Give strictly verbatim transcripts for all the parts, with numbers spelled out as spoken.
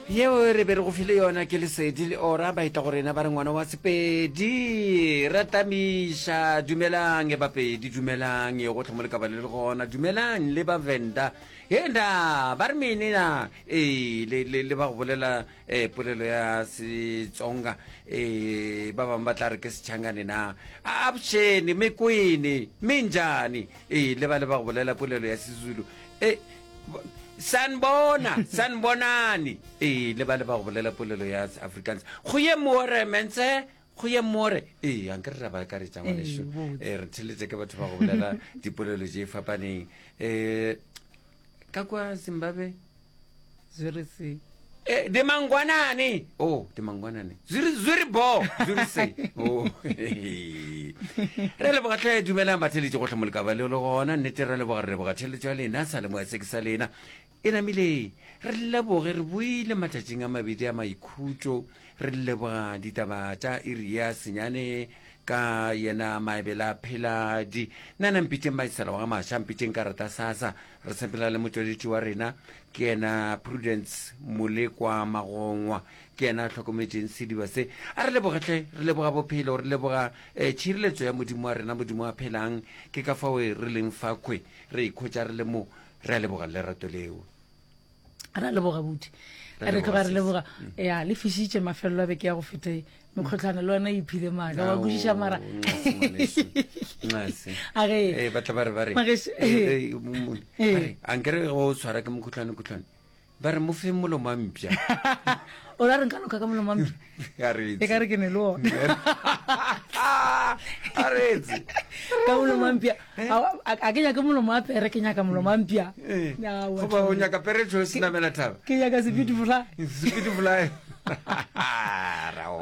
Yeo re be re go file yona ke Lesedi le Ora ba eta go rena ba re ngwana wa Sepedi ra tamiša. Dumelang Bapedi, dumelang gohle mo le ka ba le le gona, dumelang le ba Venda. Henda ba re mene na ee le le le ba go bolela eh, polelo ya Setsonga eh ba bangwe ba tla re ke Sechangane na avuxeni mikwini minjhani ee le ba le ba go bolela polelo ya Sezulu eh sanibona sanibonani ee le ba le ba go bolela polelo ya Afrikaans goeiemôre mense goeiemôre ee anke re ra ba akaretša ngwanešu ee re theletše ke batho ba go bolela dipolelo tše fapaneng um ka kwa Zimbabwe Zviri sei? Eh, dimangwanani oh dimangwanani zviri zviri bo zviri sei oh re leboga tlhe dumelang batheletše gohle mo le ka ba le le gona nnete re leboga re leboga theletšo ya lena sa le moya se ke sa lena e namile re leboge re buile matšatšing a mabedi a maikhutšo re leboga ditaba tša iri ya senyane ka yena Maebela Pheladi nna na mpitšeng Maisela wa ga Maša mpitšeng karata sasa re sepela le motšweletši wa rena ke yena Prudence Molekwa Magongwa ke yena a hlokometšeng sediba se a re lebogetlhe re leboga bophelo re leboga um tšhireletso ya modimo wa rena modimo wa phelang ke ka fao re leng fakhwe re ikhwetša re le mo re a leboga lerato leo ra leboga buti Re re tloga re leboga, leboga sis. ya le fišitše mafelelo a beke ya go feta e mekgotlhwane le wena e iphile maaka wa kwešiša mara nxase a ge ee ba tla ba re ba re Mageše- eh, eh, mo- mo- Eh. ba re, ankere go tshwara ke mokhutlwane khutlwane ba re mo fe molomo wa mpša o ra re nka loka ka molomo wa mpša a re e ka re ke ne le ona a retse ka molomo wa mpša A- a a ke nyake molomo wa pere ke nyaka molomo wa mpša Aowa, goba o nyaka peretšo e senamela thaba ke nyaka speed fly speed fly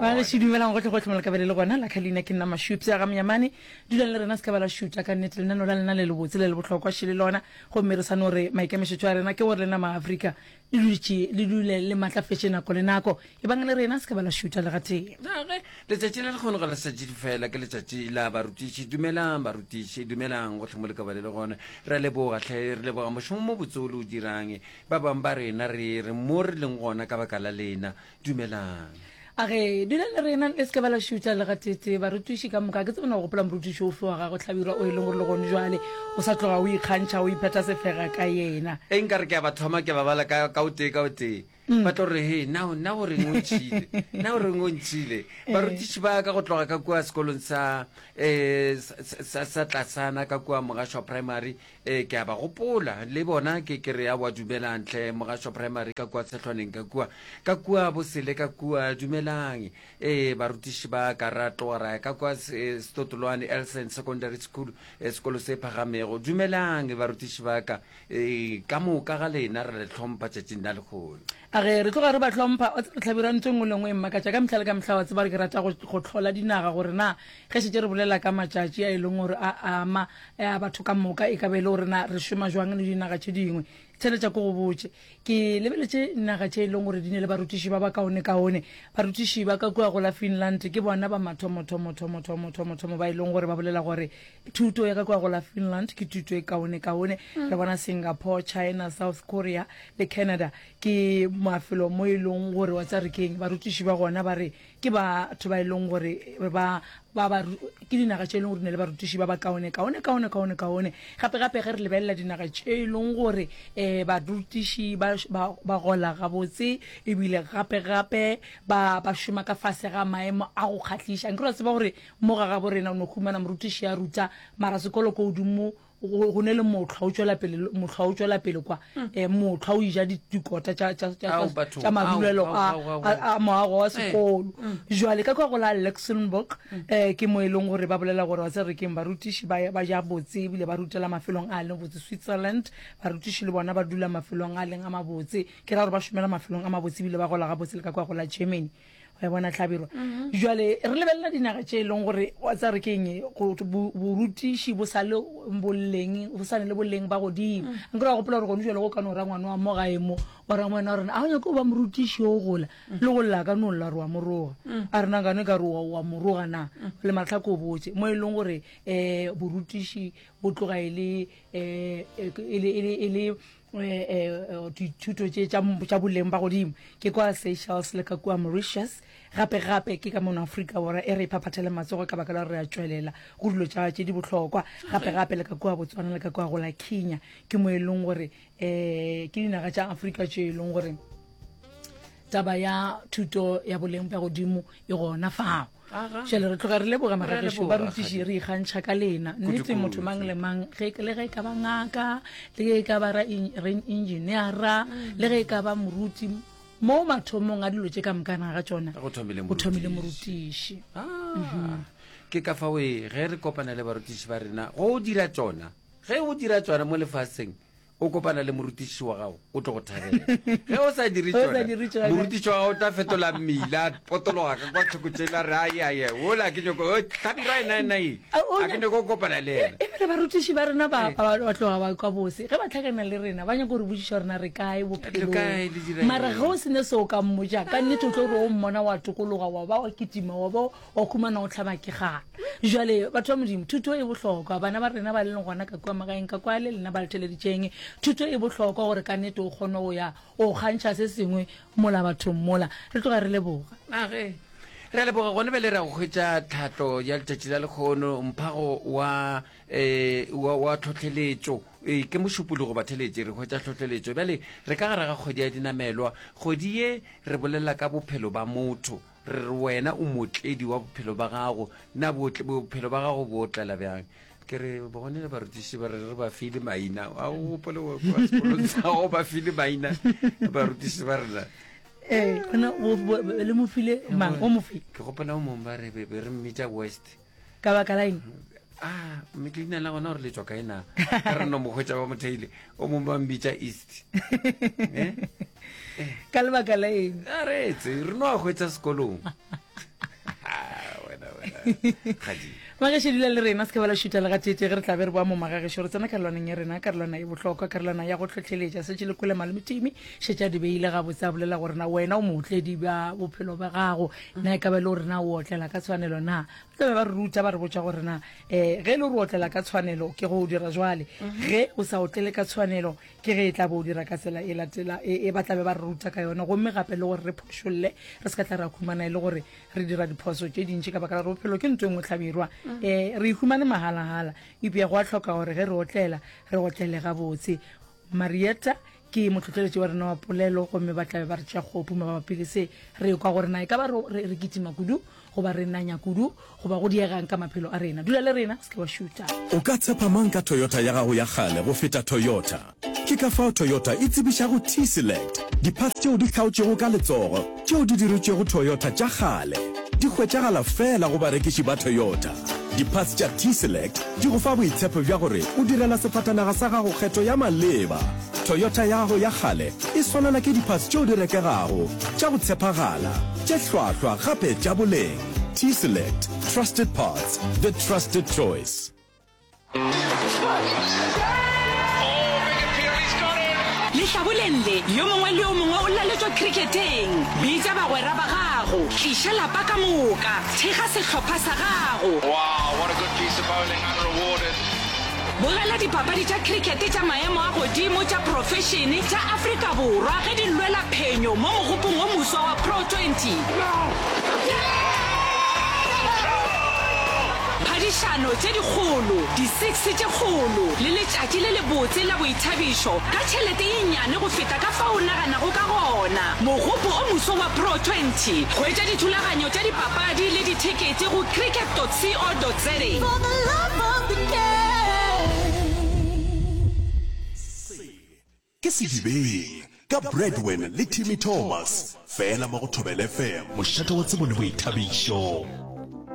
ba gešo dumelang gotlhe gotlhe mo lekabele le gona la khalina ke nna mašupse a ga monyamane dulang le rena se ka ba la šuta ka nnete lenano la lena le le botse le le bohlokwa šele lona gomme re sa no re maikemišetšo a rena ke gore lena maaforika le dutše le dule le maatlafetše nako le nako e bang le rena se ka ba la šuta le gatee Age, letšatši le lekgono ga le sa fela ke letšatši la barutiši dumelang barutiši dumelang gotlhe mo le ka ba le le gona re a leboga tlhe re leboga mošomo mo botse o le o dirang ba bangwe ba rena re re mo re leng gona ka baka la lena dumelang a ge dulang le rena le se ka ba la šuta le gatete barutiši ka moka ke tsebona go gopola morutiši ofe wa gago tlhabirwa o e leng gore le gone jwale o sa tloga o ikgantšha o iphetha sefega ka yena e nkare ke a ba thoma ke ba bala ka ka o tee ka o tee ba tlo re he na na o reng o ntšhile na o reng o ntšhile barutiši ba ka go tloga ka kua sekolong sa um sa sa tlasana ka kua Mogašwa Primary um ke a ba gopola le bona ke ke re a wa dumelang tlhe Mogašwa Primary ka kua Tshehlwaneng ka kua ka kua Bosele ka kua dumelang ee barutiši ba ka ra tloga ra ya ka kua eh, Setotolwane Elson Secondary School eh, sekolo se phagamego dumelang barutiši ba ka um ka moka ga lena re le hlompha tšatšing la lekgono a ge re tloga re ba hlompha o tsebe tlhabirwa ntho e nngwe le nngwe e mmakatša ka mehla le ka mehla wa tseba re ke rata go go hlola dinaga gore na ge šetse re bolela ka matšatši a e leng gore a ama a batho ka moka e ka be e le gore na re šoma jwang le dinaga tše dingwe theletša ko go botše ke lebeletše naga tše e leng gore di ne le barutiši ba ba kaone-kaone barutiši ba ka kua go la Finland ke bona ba mathomo thomo thomo thomo thomo thomo ba e leng gore ba bolela gore thuto ya ka kua go la Finland ke thuto e kaone-kaone re bona Singapore, China, South Korea le Canada ke mafelo mo e leng gore wa tsa re keng barutiši ba gona ba re ke batho ba e leng gore ba ba ba ke dinaga tše e leng gore di ne le barutiši ba ba kaone kaone kaone kaone kaone gape gape ge re lebelela dinaga tše e leng gore um barutiši ba ba ba gola gabotse ebile gape gape ba ba šoma ka fase ga maemo a go kgahliša nke re tseba gore mo ga gabo rena o no humana morutiši a ruta mara sekolo ko godimo go go ne le mohlwa o tšwela pele mohlwa o tšwela pele kwa um mohlwa o ija di- dikota tša tša- tša- Ao, tša batho. tša marulelo Ao, a ao, ao, ao. a- a moago wa sekolo jwale ka kwa go la Luxembourg um ke mo e leng gore ba bolela gore wa tseba re keng barutiši ba ba ja botse ebile ba rutela mafelong a leng botse Switzerland barutiši le bona ba dula mafelong a leng a mabotse ke ra gore ba šomela mafelong a mabotse ebile ba gola gabotse le ka kwa go la Germany wa e bona tlhabirwa jwale re lebelela dinaga tše e leng gore wa tseba re keng go- bo- borutiši bo sa le boleng bo sa ne le boleng ba godimo nkere wa gopola gore gone jwale go ka no ra ngwana wa mo gae mo wa ra ngwana wa rena a o nyake go ba morutiši o gola le go lla ka no lla re wa moroga a rena nkane ka re wa wa moroga na le matlha ko botse mo e leng gore um borutiši bo tloga e le um e le e le e le eh, eh, dithuto tše tša tša boleng ba godimo ke kwa Seychelles le ka kua Mauritius. Gape gape ke ka mono Afrika Borwa e re iphaphathele matsogo ka baka la gore re a tšwelela go dilo tša tše di bohlokwa. Gape gape le ka kua Botswana le ka kua go la Kenya ke mo e leng gore um ke dinaga tša Afrika tše e leng gore taba ya thuto ya boleng bja godimo e gona fao. Jale re tloga re leboga magagešo barutiši, re ikgantšha ka lena. Nnete motho mang le mang, ge le ge e ka ba ngaka, le ge e ka ba engineera, le ge e ka ba moruti, mo mathomong a dilo tše ka mokana ga tšona go thomile go thomile morutiši. Ah, ke ka fao e ge re kopana le barutiši ba rena go dira tšona, ge o dira tšona mo lefaseng o kopana le morutiši wa gago o tlo go thabela. Ge o sa dire O sa tšona, dire tšona. morutiši wa gago o tla fetola mmila, a potologa ka kwa thoko tsela, re ai ai ola ke nyoko o hlabirwa ena ena e A, o a ke nyoko go kopana le yena. Ebile barutiši ba rena ba ba ba tloga ba kwa bose ge ba tlhakana le rena, ba nyaka gore botšiša gore na re kae Le bophelong. kae, le dira Mara eng? ge o sene se o ka mmotša ka nnete, o tlo re o mmona wa tokologa, wa ba wa kitima, wa ba wa khumana o tlhaba ke gana. Jale batho ba Modimo, thuto e bohlokwa. Bana ba rena ba leng gona ka kua magaeng ka kwa le lena ba le theleditšeng, thuto e bohlokwa gore ka nnete o kgone go ya o kgantšha se sengwe mola bathong mola. Re tloga re leboga. Age re a leboga. Gone bjale re ya go hwetša tlhahlo ya letšatši la lekgono, mphago wa um wa wa tlhohleletšo. Ee, ke mošupologo batheletše, re hwetša tlhohleletšo. Bjale re ka gare ga kgwedi ya dinamelwa. Kgwedi ye re bolela ka bophelo ba motho, re re wena o motledi wa bophelo ba gago. Na bophelo ba gago bo otlela bjang? Ke re bone le barutiši ba re re ba file maina, a o gopole wa sekolong sa gago ba file maina barutiši ba rena? Ee, gona le mo file mang? O mo file? Ke gopola o mongwe ba re be re mmitša West. Ka baka la eng? Ah, mme leina la gona gore le tswa kae na, ka re no mo hwetša ba motheile. O mongwe ba mmitša East. Eh? Ka lebaka la eng? A retse re no a hwetša sekolong. Ah, wena wena gadi. Magešo, dula le rena, se ke ba la šuta le gatete. Ge re tla be re boa mo magagešo, re tsena karolwaneng ya rena, karolwana e bohlokwa, karolwana ya go tlhotlheletša. Setše le kwele malome Timi šetše a di beile gabotse, a bolela gore na wena o mootledi bja bophelo bja gago, na e ka ba e le gore na o otlela ka tshwanelo na. Ba tla be ba re ruta, ba re botša gore na um ge e le gore o otlela ka tshwanelo ke go o dira jwale, ge o sa otlele ka tshwanelo ke ge e tla bo o dira ka tsela e latela e ba tla be ba re ruta ka yona. Gomme gape le gore re phošolle, re se ka tla ra khumana e le gore re dira diphoso tše dintši ka baka la gore bophelo ke ntho e nngwe hlabirwa. Um re e humane mahalagala, eupša go a hloka gore ge re otlela re otlele gabotse. Marietta ke motlhohleletši wa rena wa polelo, gomme ba tlabe ba re tšea kgopu mabapi le se. Re kwa gore na e ka ba re re kitima kudu goba re nanya kudu goba go diegang ka maphelo a rena. Dula le rena, se ke wa šuta. O ka tshepa mang ka Toyota ya gago ya kgale go feta Toyota? Ke ka fao Toyota e tsebišago T-Select, di-parts tšeo di hlaotšwego ka letsogo tšeo di diretšwego Toyota tša kgale. Di hwetšagala feela go barekiši ba Toyota. Di-parts tša T-Select di go fa boitshepo bja gore o direla sefatanaga sa gago kgetho ya maleba. Toyota ya gago ya kgale e swanela ke di-parts tšeo di rekegago, tša go tshepagala, tše hlwahlwa gape tša boleng. T-Select, trusted parts, the trusted choice. Lehlaboleng le, yo mongwe le yo mongwe o laletšwa khrikheteng. Bitša bagwera ba gago, tliša lapa ka moka, thekga sehlopha sa gago. Wow, what a good piece of bowling, unrewarded. Bogela dipapadi tša khrikete tša maemo a godimo tša profešene tša Afrika Borwa ge di lwela phenyo mo mogopong o moswa wa Pro twenty. Phadišano tše dikgolo, di-six tše kgolo le letšatši le lebotse la boithabišo ka tšhelete ye nnyane go feta ka fao o naganago ka gona. Mogopo o moswa wa Pro twenty. Hwetša dithulaganyo tša dipapadi le dithekete go cricket dot co dot za. For the love of the game. Se ke Sedibeng ka Bradwin le Timmy Thomas, fela mo go Thobela F M, mošate wa tsebo le boithabišo.